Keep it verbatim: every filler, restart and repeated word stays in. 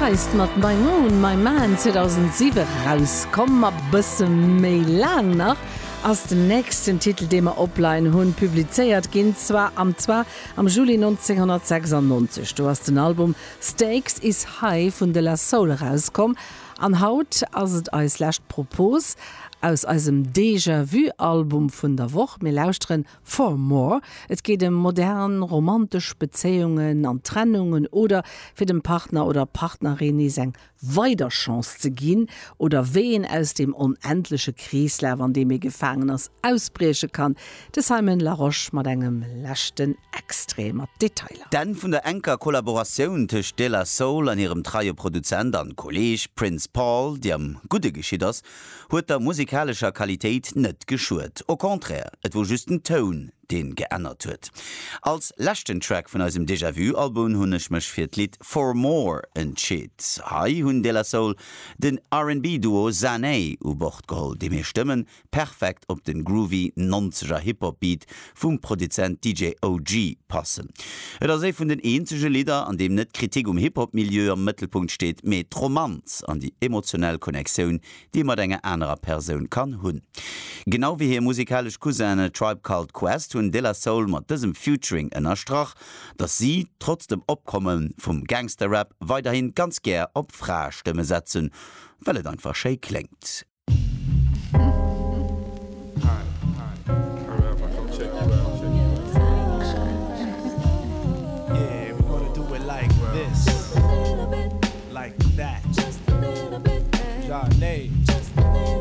Feist mat My Moon, My Man zweedausentsiwe rauskomm. A bësse méi laang nach ass den nächsten Titel, dee mer opleien hunn, publizéiert ginn, zwar am zwar am Juli nonzénghonnertsechsannonzeg. Do ass den Album Stakes Is High vun De La Soul erauskomm. An haut ass et eis lescht Propos aus eisem Déjà-vu-Album vun der Woch. Mir lauschteren For More. Et geet ëm modern romantesch Bezéiungen an Trennungen oder fir dem Partner oder Partnerin nees eng weider Chance ze ginn oder wéi een aus dem onendleche Kreeslaf, an deem ee gefaangen ass, ausbrieche kann. De Simon Larosche mat engem leschten Extrait mat Detailer. D'Enn vun der enker Kollaboratioun tëscht De La Soul an hirem treie Produzent an Kolleeg Prince Paul, déi am Gudde geschitt ass, huet der musikalescher Qualitéit net geschuet. Au contraire, et wor just den Toun, deen geännert huet. Als leschten Track vun eisem Déjà-vu-Album hunn ech mech fir d'Lidd For More entscheet. Hei hunn De La Soul den R and B-Duo Zane u Bord geholl, deem hir Stëmmen perfekt op den groovy nonzeger Hip-Hop-Beat vum Produzent D J O G passen. Et ass ee vun den eenzege Lidder, an deem net Kritik um Hip-Hop-Milieu am Mëttelpunkt steet, mee d'Romanz an déi emotionell Connectioun, déi ee mat enger anerer Persoun kann hunn. Genau wéi hir musikalesch Cousinen Tribe Called Quest hunn De La Soul mat dësem Featuring ënnerstrach, dass si trotz dem Opkomme vum Gangster-Rap weiderhin ganz gär op Fraestëmme setzen, well et einfach schéi kléngt.